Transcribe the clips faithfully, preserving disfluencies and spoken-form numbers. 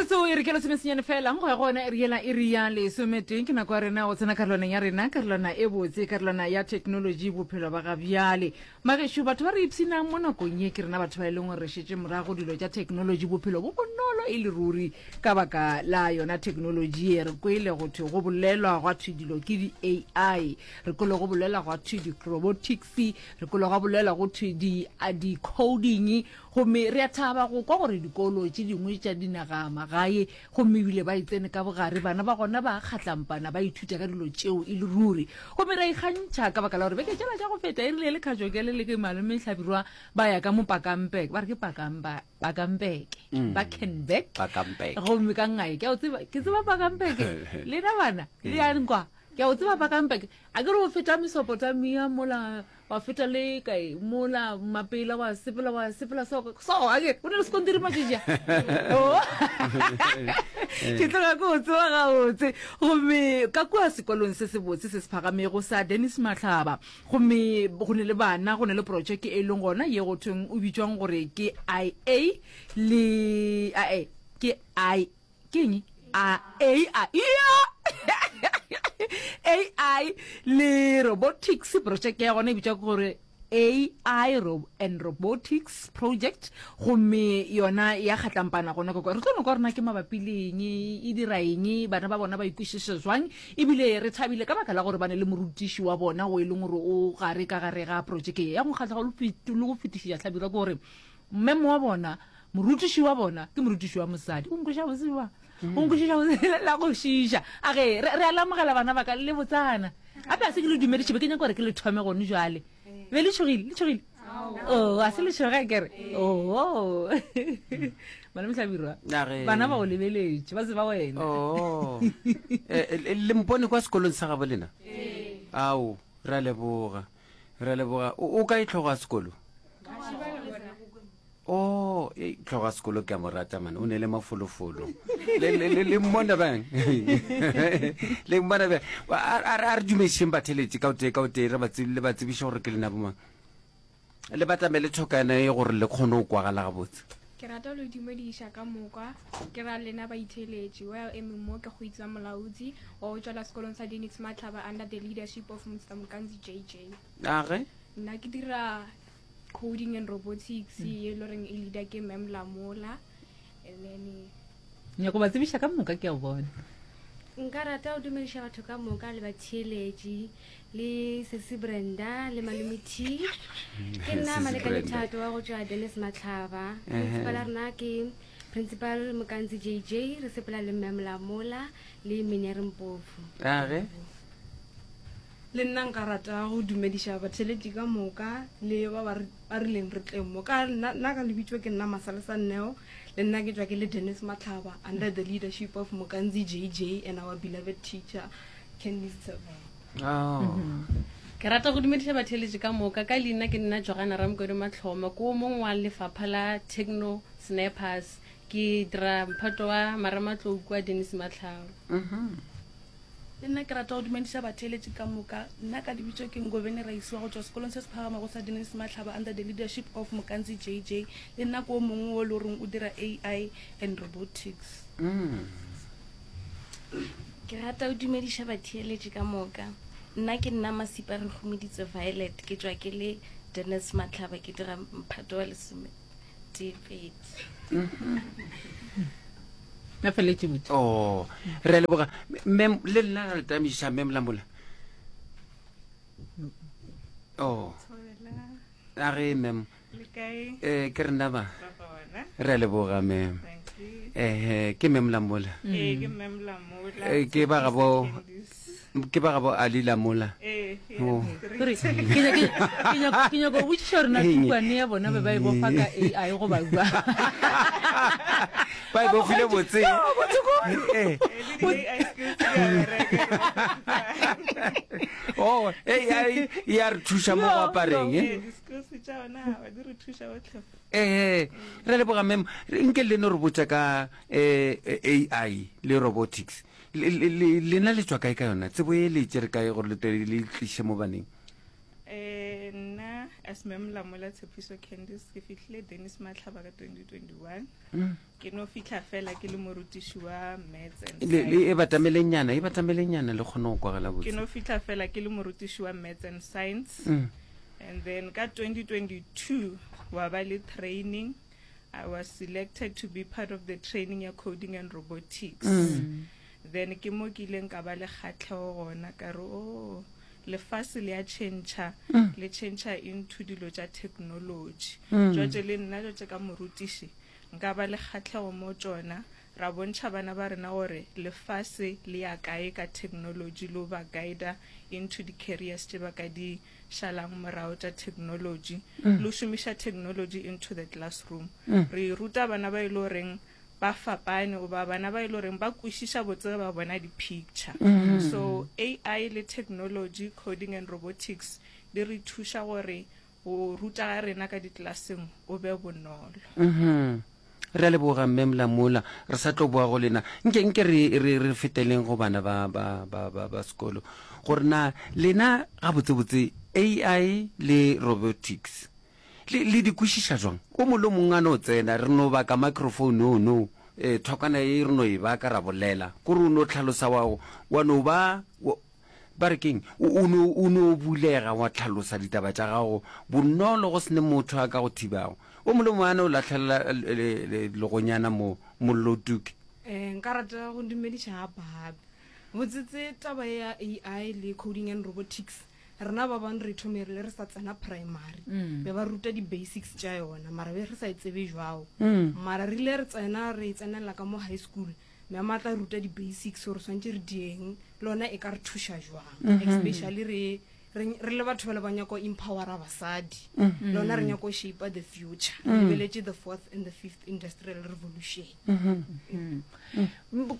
Metsotso e re ke lesomesenyane fela go ya go ona iri yela iri ya lesometee ke nako ya rena go tsena karolwaneng ya rena karolwana e botse karolwana ya technology bophelo ba ga bjale magešo batho ba re ipshinang mo nakong ye ke rena batho ba e leng gore re šetše morago dilo tša technology bophelo bo bonolo e le ruri ka baka la yona technology ye re kwele go thwe go bolelwa gwa thwe dilo ke di-ai re kwele go bolelwa gwa thwe di-robotics re kwele gwa bolelwa go thwe di-coding gomme re a thaba go kwa gore dikolo tše dingwe tša dinaga magae gomme ebile ba e tsene ka bogare bana ba gona ba kgatlampana ba ithuta ka dilo tšeo e le ruri gomme ra ikgantšha ka baka la gore beke tšela tša go feta e rile le kgatšokele le ke malome hlabirwa ba ya ka mo pakampeke ba re ke pakampa pakampeke Mm. bakenbeck Pakampeke. gomme ka ngai ke a o tseba ke tseba pakampeke lena bana le yang kwa ke a o tseba pakampeke a ke re o feta mesopotamia mola wa feta le kae mola mapela wa sepela wa sepela so so ake o ne le sekontiri matšatši a ke tloga ke o tseba gabotse gomme ka kua sekolong se se botse se se phagamego sa dennis matlhaba gomme go ne le bana go ne le projeke e leng gona ye go thweng o bitswang gore ke ia le ae ke i ke eng a a a ia ai le robotics project ya gona e bitswa gore ai ro and robotics project gomme yona ya kgatlampana gona kwa re tlo no kwa rena ke mabapi le eng e dira eng bana ba bona ba ikwešiša jwang ebile re thabile ka baka la gore ba ne le morutiši wa bona o e leng gore o gare ka gare ga projeke ye ya go kgatlha le go fetišiša hlabirwa ke gore mmemo wa bona morutiši wa bona ke morutiši wa mosadi o nkweša boseba o nkwešiša bose la go šiša a ge re re a lamogela bana ba ka le botsana gape a se ke le dumediše be ke nyaka gore ke le thome gone jwale be le tšhogile le tšhogile o a se le tšhoga kere oo bana mohlabirwa Age. bana ba o lebeletše ba tseba wena Oh. Eh, eh, le mpone kwa sekolong sa gabo lena ao re a leboga re a leboga o o kae tlhogo ya sekolo o ei, tlhogo ya sekolo ke a mo rata mane o ne le mafolofolo le le- le- le mmona bang le mmona bang a a- a re dumedišeng batheletše ka o tee ka o tee re ba tsebi- le ba tsebiše gore ke lena bomang le batamele thokana e gore le kgone go kwagala gabotse ke rata lo dumediša ka moka ke ra lena baitheletši well emeng mo ke go itsa molaodi wa go tswela sekolong sa denix matlhaba under the leadership of mr mokanzi jj age nna ke dira coding and robotics ye e le goreng e leader ke mem lamola and then nyako ba tsebiša ka moka ke a bona nka rata go dumediša batho ka moka le batheeletši le sesi brenda le malome t ke nna Sesi malekane Brenda. thato wa go tšwa dennis matlhaba Ehe. principal ya rena ke principal mokanzi jj re sepela le mme molamola le menere mpofu age le nna nka rata go dumediša batheletši ka moka le ba ba re- ba rileng re tleng mo ka nna nna ka lebitso ke nna masalesa nneo le nna ke tswa ke le dennis matlhaba under the leadership of mokanzi jj and our beloved teacher candice Tsebang. oh ke rata go dumediša batheeletši ka moka ka leina ke nna jogana ramokedi matlhoma ke o mongwe wa lefapha la techno snappers ke dira mphato wa marematlou kua dennis matlhaba Mhm. le nna ke rata go dumediša batheeletši ka moka nna ka lebitso ke ngobene raisi wa go tswa sekolong se se phagamago sa dennis matlhaba under the leadership of mokanzi jj le nna ke o mongwe o le goreng o dira ai and robotics Mm. ke rata go dumediša batheeletši ka moka nna ke nna masipa re gomeditse violet ke tswa ke le dennis matlhaba ke dira mphato wa lesometee pedi na feletše botse oh re a leboga mem le nna re tamiša mem lamola oh a ge mem eh ke rena ba re a leboga mem eh ke mem lamola Ee, ke mem Lamola. Eh, ke ba gabo ke ba gabo ali lamola Ee, Oh. Gore, ke nyaka- ke nyaka- ke nyaka go botšiša gore na Eng? tukwane ya bona be ba e bofa ka ai goba jwang ba e bofile botse Eh. Le di-AI skills di a bereka. oh ai e a re thuša mo go apareng eh Ee, di-skills tša ona ba di re thuša gotlhe. ee re leboga mem nke le no re botša ka um ai le robotics Le- le- le- lena le tswa kae ka yona tsebo e le tšere kae gore le tle le tliše mo baneng Eh, nna As Mem Lamola Tshepiso Candice, ke fihlile Dennis Matlhaba ka twenty twenty-one. Mm. Ke no fihla fela ke le morutiši wa maths and Le, le science. e batamelenyana, e batamelenyana le kgone go kwagala Ke botse. no fihla fela ke le morutiši wa maths and science. Mm. And then ka twenty twenty-two wa ba le training. I was selected to be part of the training ya coding and robotics. Mm. Then ke mo ke ileng ka ba le kgatlhego gona ka re, oh, lefase le a tšhentšha, Mm. le tšhentšha into dilo tša technology. Mm. Jwale le nna jwale ka morutiši nka ba le kgatlhego mo tšona, ra bontšha bana ba rena gore lefase le ya kae ka technology, le ba guida into di careers tše ba ka di šalang morago tša technology, Mm. le šomiša technology into the classroom. Mm. Re ruta bana ba e le goreng ba fapane goba bana ba e le goreng ba kwešiša botse ge ba bona di-picture. Mm. So A I le technology, coding and robotics di re thuša gore go ruta ga rena ka di-classeng o be bonolo. Mhm. Re a leboga mme Mlamola, re sa tlo boa go lena. Nke nke re re re feteleng go bana ba ba ba ba ba sekolo. Gore na lena ga botsebotse A I le robotics le le di kwešiša jwang? O mongwe le mongwe a no tsena, re no baka microphone no no. Eh, thokana e re no e baka ra bolela. Kore o no tlhalosa wa wa no ba wa, ba re keng? O, o no, o no bulega wa tlhalosa ditaba tša gago bonolo go sene motho a ka go thibago. O mongwe le mongwe a no lahlela le, le, legonyana mo mollo tuke. Eh, nka rata go dumediša gape gape. Botsetse taba ya A I le coding and robotics, rena ba bang re thome re le re sa tsena primary. Mm. Be ba ruta di-basics tša yona, mara be re sa e tsebe jwao. Mm. Mara re ile re tsena, re tsenela ka mo high school, mme a tla ruta di-basics gore swantse re dieng, le yona e ka re thuša jwang. Mm-hmm. Especially re, re, re le batho ba le ba nyaka go empowera basadi. Mm. Le yona re nyaka go shape the future. Re Mm. lebeletše the fourth and the fifth industrial revolution. Mm-hmm. Mm. Mm.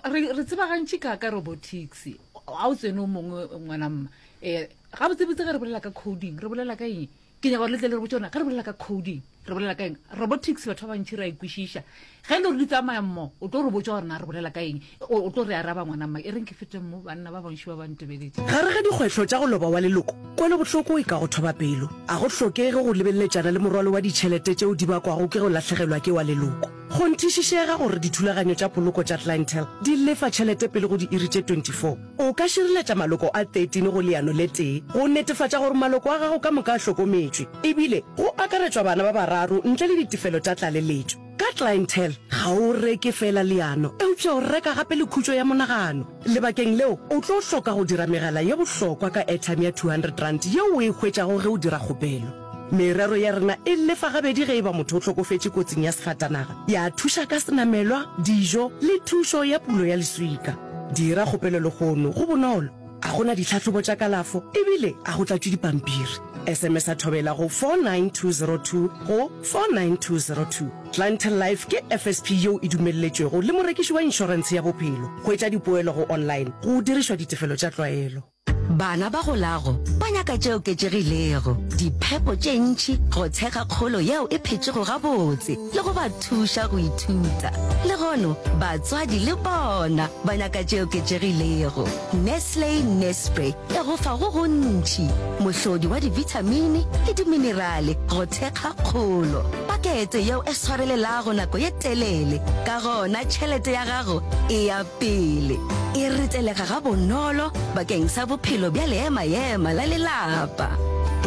Re, re tseba gantši ka, ka robotics. A o tsene o mongwe ngwana mma. Eh, ga botsebotse ge re bolela ka coding, re bolela ka eng? Ke nyaka gore le tle le re botse gore ge re bolela ka coding, re bolela ka eng? Robotics batho ba bantši re a e kwešiša. Ge e le gore di tsamaya mmogo, o tlo re botsa gore na re bolela ka eng? O, o tlo re araba ngwana mma. E reng ke fete mo banna ba bantši ba ba ntebeletše. Gare ga dikgwetlho tša go loba wa leloko, kwelobohloko e ka go thoba pelo. A go hlokege go lebelletšana le morwalo wa ditšhelete tšeo di bakwago ke go lahlegelwa ke wa leloko. Kgonthišišega gore dithulaganyo tša poloko tša Clientele di lefa tšhelete pele go diiri tše twenty-four. O ka šireletša maloko a thirteen go leano le tee go netefatša gore maloko a gago ka moka a hlokometšwe, ebile go akaretšwa bana ba bararo ntle le ditefelo tša tlaleletšo. Ka Clientele ga o reke fela leano, eupša o reka gape le khutšo ya monagano. Lebakeng leo o tlo hloka go dira megala ye bohlokwa ka airtime ya two hundred rand yeo o e hwetšago ge o dira kgopelo. Merero ya rena e lefa gabedi ge e ba motho o hlokofetše kotsing ya sefatanaga, ya thuša ka senamelwa, dijo le thušo ya pulo ya leswika. Dira kgopelo lehono, go bonolo. A gona ditlhahlobo tša kalafo ebile a go tlatšwe dipampiri. S M S a thobela go four nine two zero two go four nine two zero two. Clientele Life ke F S P yeo e dumelletšwego le morekiši wa inšorense ya bophelo. Hwetša dipoelo go online go dirišwa ditefelo tša tlwaelo. Bana ba golago ba nyaka tše oketšegilego, diphepo tše ntši go thekga kgolo yeo e phetšego gabotse le go ba thuša go ithuta. Le gono batswadi le bona ba nyaka tše oketšegilego. Nestle Nespre e go fa go gontši, mohlodi wa divitamine le diminerale go thekga kgolo. Pakete yeo e swarelelago nako ye telele, ka gona tšhelete ya gago e ya pele. E retelega ga bonolo bakeng sa bophelo bja leemaema la lelapa.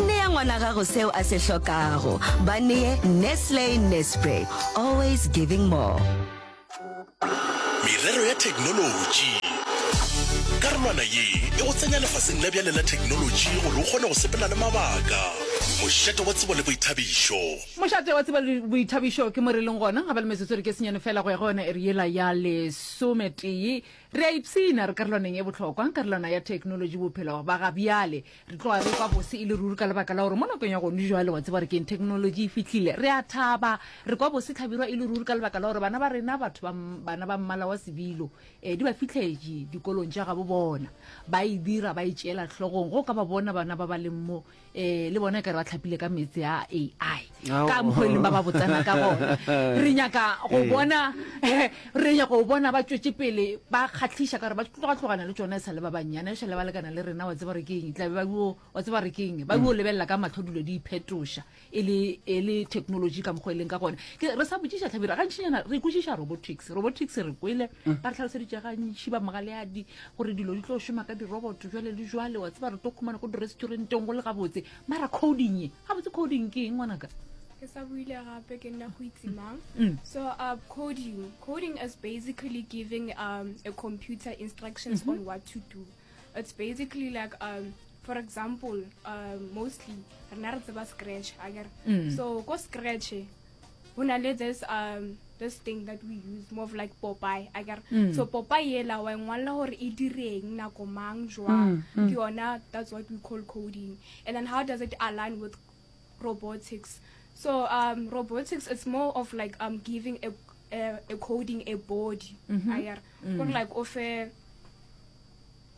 Nea ngwana gago seo a se hlokago. Ba nee Nestle Nespre, always giving more. Merero ya technology. Karolwana ye e go tsenya lefaseng la bjale la technology gore o kgone go sepela le mabaka. Mošate wa tsebo le boithabišo. Mošate wa tsebo le boithabišo ke mo re leng gona, ga ba le metsotso re ke senyane fela go ya go yona iri yela ya lesometee. Re a ipshina re karolwaneng e bohlokwa, karolwana ya technology bophelo ba ga bjale. Re tloga re kwa bose e le ruri ka lebaka la gore mo nakong ya gone jwale wa tseba re keng technology e fihlile. Re a thaba, re kwa bose tlhabirwa e le ruri ka lebaka la gore bana ba rena, batho ba m-, bana ba mmala wa sebilo, eh, di ba fihletše dikolong tša gabo bona. Ba e dira, ba e tšeela hlogong. Go ka ba bona bana ba ba leng mo, eh, le bona e ka kare ba tlhapile ka meetse a A I Ao. Ka mokgwa e leng ba ba botsana ka gona. Re nyaka go Ee. bona, re nyaka go bona ba tšwetše pele, ba kgahliša ka gore ba tloga-tlogana le tšona e sa le ba bannyane, e šale ba lekana le rena, wa tseba gore ke eng, tla be ba yo, wa tseba gore ke eng, ba yo lebelela ka mahlo dilo di iphetoša e le, e le technology ka mokgwa e leng ka gona. Ke, re sa botšiša Hlabirwa, gantšinyana re kwešiša robotics, robotics re kwele, ba re hlaloseditše gantši ba Mogaleadi gore dilo di tlo šoma ka di-robot jwale le jwale, wa tseba re tlo khumana ko di-restauranteng go le gabotse, mara coding ye, gabotse coding ke eng ngwanaka? Ke sa buile gape ke nna go itse mang. Mm. So uh, coding, coding is basically giving um, a computer instructions Mhm. on what to do. It's basically like, um, for example, uh, mostly re na re tseba Scratch, akere. Mm. So ko Scratch, ho na le this, um, this thing that we use more of like Popeye, akere. Mm. So Popeye yela wa e ngwalla hore e direng nako mang jwang. Mm, mm. Ke yona, that's what we call coding. And then how does it align with robotics? So, um, robotics is more of like, um, giving a, a, a coding a body. Mhm. Akere. Mm. Gore like o fe,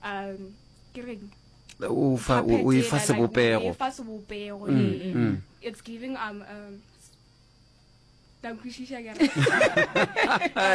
um, ke reng? O fa, o, o e fa Puppet ela, like, o sebopego. e fa sebopego, Mm, ee. mm. It's giving, um, um, ta nkwešiša ke re.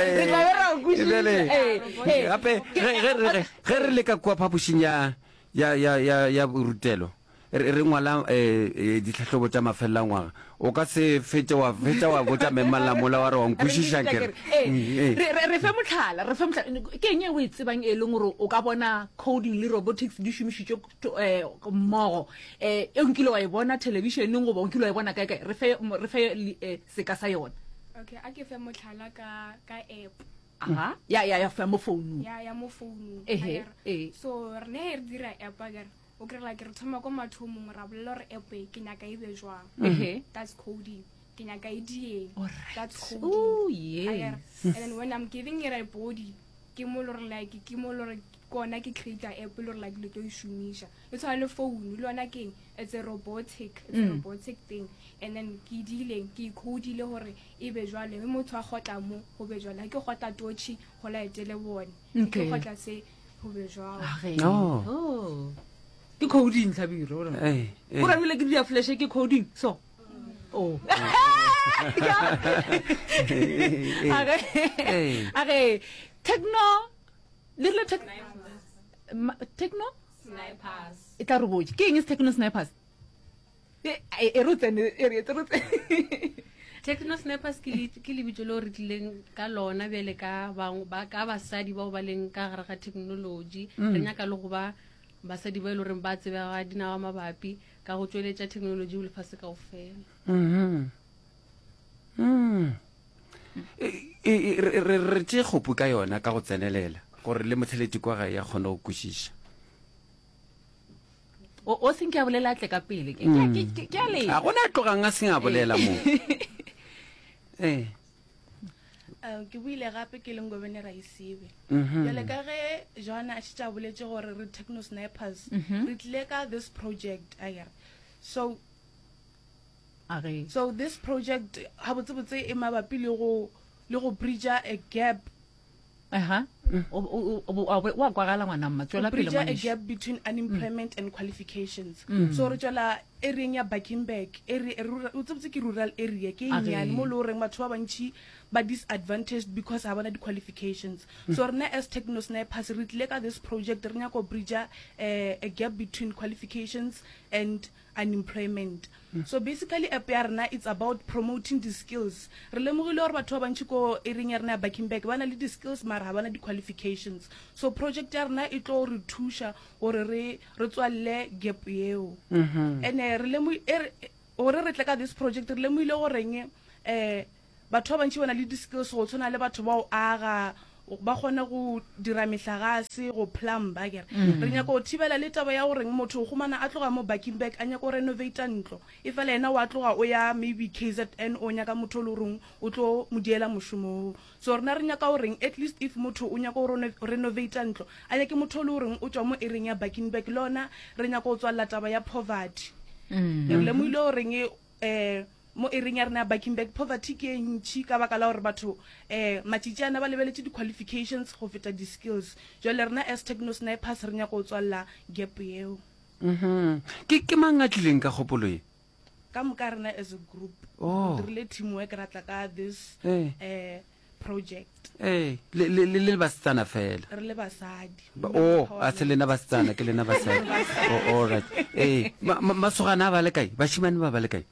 Re tla be ra o kwešiša. Bjale, Ee, ee. gape, ge, ge, ge, ge re le ka kua phapošing ya, ya, ya, ya, ya borutelo, re, re ngwala, eh, eh, ditlhahlobo tša mafelelo a ngwaga, o ka se fetše wa fetša wa botša memmallamola wa re wa nkwešiša ke re. Ee, Mm, ee. re, re, re fe mohlala, re fe mohlala. Ke eng e o e tsebang e leng gore o ka bona coding le robotics di šomišitšwe to-, eh, mmogo? Eh, e nkile wa e bona thelebišeneng goba o nkile wa e bona kae kae? Re fe, re fe li-, eh, seka sa yona. Okay, a ke fe mohlala ka, ka app. Aha. Ya, ya, ya, ya mo founung. Ya, ya mo founung. Ehe, Akere. ee. So re ne re dira app akere. O kry like re thoma ko mathomong ra bolela gore app e ke nyaka e be jwang. Ehe. That's coding. Ke nyaka e dieng. Alright. That's coding. Oh, yes. Akere. And then when I'm giving it a body, ke mo le gore like ke mo le gore kona ke create app le gore like le tlo e šomiša. E tshwana le phone, le yona ke eng? It's a robotic, it's a Mm. robotic thing. And then ke dileng, ke e codile gore e be jwale, mme motho a kgotla mo, go be jwale. Ha ke kgotla torch, go laetele bone. Ke Okay. kgotla se, go be jwalo. Age. Oh. Oh. Ke coding, Hlabirwa, o re. Eh, eh. O rabile ke dia flash ke coding, so. Oh. Age. Eh. Age. Techno. Le rile tech-, Ma-, techno? Snipers. E tla re botse. Ke eng se techno snipers? E, e, e re o tsene, e re etse re tsene. Techno snipers ke le-, ke lebitso leo re tlileng ka lona bjale ka bang-, ba, ka basadi bao ba leng ka gare ga technology. Mm. Re nyaka le go ba basadi ba e leng gore ba tsebega dinawa mabapi ka go tšweletša technology go lefase kaofela. Mhm. Mm. E, e, e, re, re, re tšee kgopu ka yona ka go tsenelela gore le motheletši kwa gae a kgone go kwešiša. O, o senke a bolela a tle ka pele. Ke, ke, Mm. ke, ke, ke a le. A gona a tlogang a seng a bolela mo. Eh. Um, ke buile gape ke leng Ngobeni Raisibe. Mhm. Bjale ka ge Johanna a šetše a boletše gore re techno snipers, Mhm. re tlile ka this project, akere. So, Age. so this project gabotsebotse e mabapi le go, le go bridge-a a gap. Aha. O, o, o, o, o, wa kwagala ngwana mma, tswela pele Bridge a ngwanešu. gap between unemployment and qualifications. Mm. So re tswela area ya Bakenberg, area, rural, o tsebotse ke rural area, ke e Age. nnyane mo le horeng batho ba bantši ba disadvantaged because ha bana di-qualifications. Mm. So rena as techno snipers re tlile ka this project, re nyaka go bridge, eh, a gap between qualifications and unemployment. Mm. So basically app ya rena it's about promoting the skills. Re lemogile gore batho ba bantši ko area ya rena ya Bakenberg ba na le di-skills mara ha bana di-qualifications. So project ya rena e tlo re thuša gore re, re tswalle gap yeo. Mhm. And, eh, re lemo-, e re, gore re tle ka this project re lemogile goreng, eh, batho ba bantši ba na le di-skills go tshwana le batho ba o aga, ba kgone go dira mehlagase, go plumba, akere. Mm. Re nyaka go thibela le taba ya goreng motho o humana a tloga mo Bakenberg a nyaka go renovata ntlo, e fela yena wa tloga o ya maybe K Z N o nyaka motho o le goreng o tlo mo diela mošomo oo. So rena re nyaka goreng at least if motho o nyaka go reno-, renovata ntlo, a nyake motho o le goreng o tswa mo area ya Bakenberg, le yona re nyaka go tswalela taba ya poverty. Mm. Re lemogile goreng, eh, mo area ya rena ya Bakenberg poverty ke e ntši ka baka la gore batho, eh, matšatši ana ba lebeletše di-qualifications go feta di-skills. Jwale rena as techno snipers re nyaka go tswalela gap yeo. Mhm. Ke, ke mang a tlileng ka kgopolo e? Ka moka rena as a group. Oh. Re dirile teamwork ra tla ka this Eh. eh project. Ee, le le le le basetsana fela. Re le basadi. Ba- Oh, a se lena basetsana, ke lena basadi. Oh, all right. Ee, ma- ma- masogana a ba le kae? Bashimane ba ba le kae?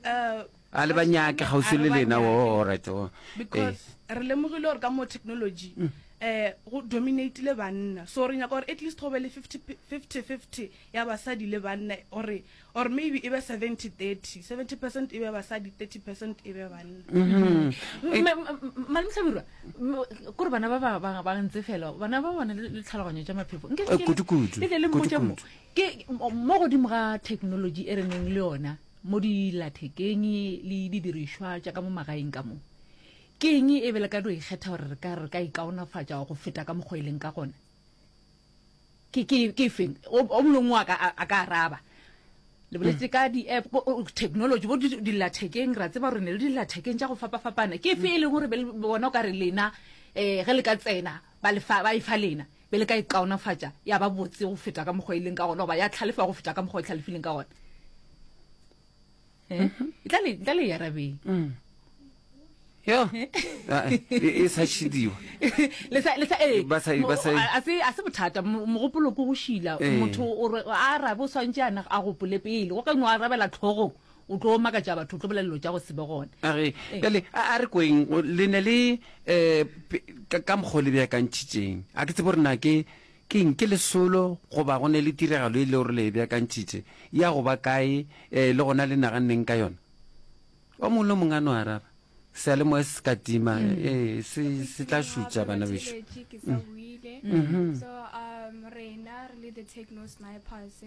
Uh, A le ba nyake kgauswi a le re ba lena. nyake. Oh, all right. Oh. Ee. Because re lemogile gore ka mo technology Mm. eh go dominatile banna, so re nyaka gore at least go be le fifty fifty fifty ya basadi le banna, or or maybe e be seventy thirty, seventy percent e be basadi, thirty percent e be banna. Mhm. Malome Hlabirwa, kore bana ba ba ba ba ntse fela bana ba bana le le tlhaloganyo tša maphefo. Nke Eh, ke- kudu-kudu, le tle le mpotše mo kudu-kudu. ke mo godimo ga technology e re neng le yona mo dilathekeng le didirišwa tša ka mo magaeng ka mo, ke eng e be le ka do ikgetha gore re ka re ka ikaonafatša go feta ka mokgwa e leng ka gona? Ke ke ke feng o o mongwe a ka a ka araba? Le boletse ka di-app, ko- o- technology bo di- dillathekeng, ra tseba gore ne le dillathekeng tša go fapafapana. Ke efe e leng gore be le bona o ka re lena um ge le ka tsena ba lefa ba e fa lena be le ka ikaonafatša ya ba botse go feta ka mokgwa e leng ka gona, goba ya tlhalefa go feta ka mokgwa e tlhalefileng ka gona? Eh? E tla le tla le e arabeng. Mm. Yo. Ah, e e sa šidiwa. Le sa le sa eh Ba sa- ba sa- a se a se bothata, mo- mogopolo ke go šila. Eh. Motho o re a arabe o swantše a na a gopole pele, go ka no arabela tlhogong o tlo makatša batho, o tlo bolela dilo tša go se be gona. A re Eh. bjale a a re kweng o- le ne le eh pe- ka ka mokgwa o le beakantšhitšeng, a ke tsebe gore na ke ke eng, ke lesolo goba go ne le tiragalo e le gore le e beakantšhitše ya go ba kae, eh le gona le naganneng ka yona? O mongwe le o mongwe a no araba, seyalemoya se se ka tima, Mm. ee se se tla šutša bana bešo. Batheeletši, ke sa Mm. buile. Mhm. So um rena re le the techno snipers,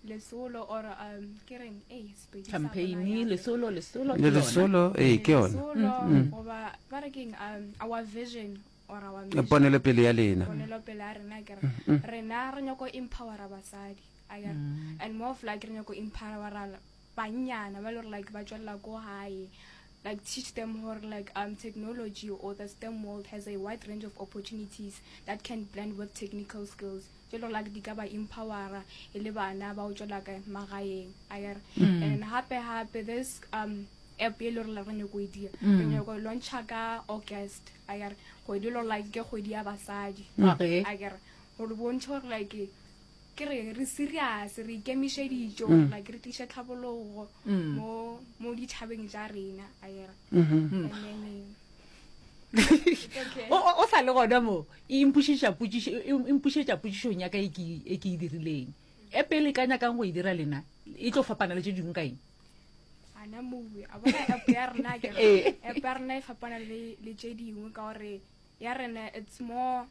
lesolo or um ke reng eh Sepedi sa Campaign, rona ya- lesolo, lesolo Le ke lona. lesolo, ee, ke yona. Lesolo, Mm. goba ba re keng, um our vision or our mission. Ponelopele ya lena. Ponelopele ya rena ke re Mm, mm. rena re nyako empowera basadi, a ke re. Mm. And more of like re nyako empowera bannyana ba le gore like ba tswelela ko gae, like teach them gore like um technology or the STEM world has a wide range of opportunities that can blend with technical skills, tse le gore like di ka ba empowera e le bana ba o tswela ka magaeng, a ke re. Mm. And gape gape this um app e le gore re nyako e dira, Mm. re nyako e launcha ka August, a ke re, kgwedi e le gore like ke kgwedi ya basadi, Mm. Okay. a ke re, gore bontšhe gore like ke re re serious, re ikemišeditše gore Mm. like re tliše tlhabologo Mm. mo mo ditšhabeng tša rena, a ke re. Mhm. And then, eh, it's okay. O o- o sa le gona mo e impušetša potšišo, e e impušetša potšišong ya ka e ke e ke e dirileng. E pele ka nyakang go e dira lena e tlo fapana le tše dingwe ka eng? Ana mowe a bona app ya rena ke re Eh. app ya rena e fapana le le tše dingwe ka gore ya rena it's more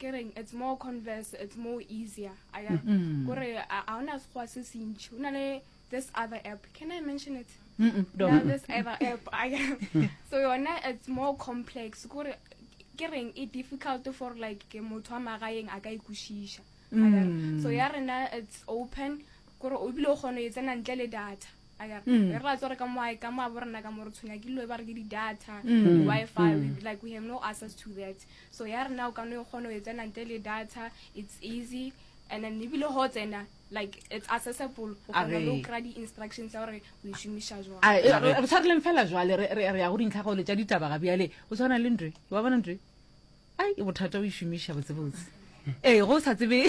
ke reng, it's more converse, it's more easier, a ke re. Mm. Kore a a hona sekgowa se se ntši, o na le this other app, can I mention it? Mm-mm, don't. Now this other app, a ke re. So yona it's more complex, kore ke reng e difficult for like ke motho wa magaeng a ka e kwešiša, a ke re. Mm. So ya rena it's open, kore o bile o kgona ho e tsena ntle le data, a ke re. Mm. Re ra tswa re ka mo hae, ka mo habo rena ka mo re tshwenya ke dilo e ba re ke di-data, Mm. di-Wi-Fi, Mm. we, like we have no access to that. So ya rena o ka no kgona ho e tsena ntle le data, it's easy, and then ebile ho tsena like it's accessible, o A kgona le ho re. kry-a di-instructions tsa gore o e šomiša jwang. A, e, re re tshwareleng fela jwale, re re- re ya go dintlhagolo tša ditaba ga bjale. O tshwana le ntwe, wa bona ntwe, ai e bothata o e šomiša botsebotse. Ee, go sa tsebe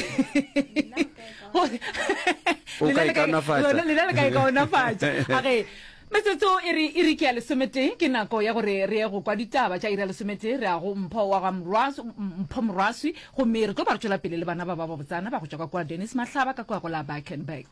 O ka Lena le ka- ikaonafatša. lona- lena le ka ikaonafatša. A ge metsotso e re e re ke ya lesometee, ke nako ya gore re ye go kwa ditaba tša iri ya lesometee. Re ya go Mpho wa ga Morwaswi, Mpho Morwaswi, gomme re tlo ba re tšwela pele le bana ba ba babotsana ba go tšwa ka kua Dennis Mahlaba ka kua go la Bakenberg.